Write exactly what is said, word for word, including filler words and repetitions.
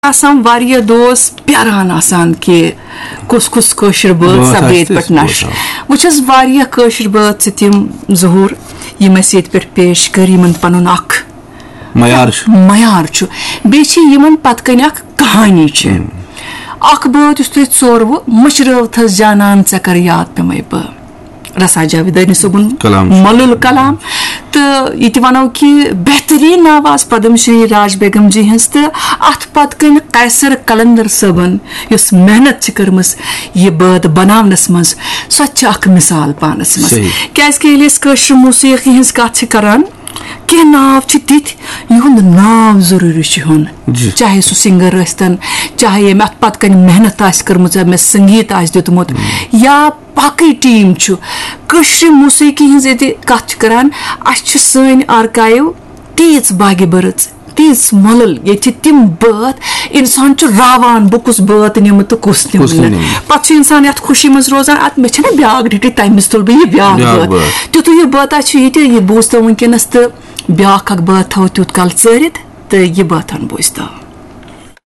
آسان واریاہ دوس پیاران آسان کہِ کُس کُس کٲشِر بٲتھ بٲتھ سپدِ آسہِ ییٚتہِ پٮ۪ٹھ تہٕ نشر۔ بوزان۔ وۄنۍ چھَس واریاہ کٲشِر بٲتھ چھِ تِم، ظہوٗر، یِم اَسہِ ییٚتہِ پٮ۪ٹھ پیش کٔر، یِمن پنُن اکھ معیار چھُ۔ معیار چھُ۔ بیٚیہِ چھِ یِمن پتہٕ کنہِ اکھ کہانی چھِ۔ اکھ بٲتھ یُس تۄہہِ ژوروٕ مٔشرٲوتھس جانان ژےٚ کر یاد پیمے بہٕ۔ رسا جاویدانی صٲبُن کلام چھُ۔ مۄلُل کلام۔ تہٕ یہِ تہِ وَنو کہِ بہتریٖن آواز پدم شری راج بیگم جی ہٕنٛز، تہٕ اَتھ پتہٕ کَنہِ قیصر قلندر صٲبن یۄس محنت چھِ کٔرمٕژ یہِ بٲتھ بناونس منٛز، سۄ تہِ چھِ اکھ مثال پانس منٛز۔ صحیح۔ کیازِ کہِ ییٚلہِ أسۍ کٲشرِ موسیقی ہٕنٛز کتھ چھِ کران، کینٛہہ ناو چھِ تِتھۍ یِہُنٛد ناو ضروٗری چھُ ہیوٚن۔ جی۔ چاہے سُہ سنگر ٲسۍتن، چاہے ییٚمۍ اتھ پتہٕ کنہِ محنت آسہِ کٔرمٕژ، أمِس سنگیت آسہِ دیُتمُت، یا باقٕے ٹیٖم چھُ۔ کٲشرِ موسیقی ہٕنٛز ییٚتہِ کتھ چھِ کران، اسہِ چھِ سٲنۍ آرکایو تیٖژ باگہِ بٔرٕژ، تیٖژ مۄلل، ییٚتہِ چھِ تِم بٲتھ، انسان چھُ راوان، بہٕ کُس بٲتھ نِمہٕ تہٕ کُس نِمہٕ کُس نہٕ۔ نِمہٕ؟ پتہٕ چھُ انسان یتھ خوشی منٛز روزان، اتھ مےٚ چھنہ بیاکھ ڈیٹی، تمہِ وِزِ تُل بہٕ یہِ بیاکھ بیاکھ بٲتھ۔ بٲتھ۔ تیُتھُے یہِ بٲتھ چھُ ییٚتہِ، یہِ بوٗزتو وٕنکیٚنس تہٕ بیاکھ اکھ بٲتھ تھاوو تیوٗت کال ژٲرِتھ تہٕ یہِ بٲتھ ہن بوٗزتو۔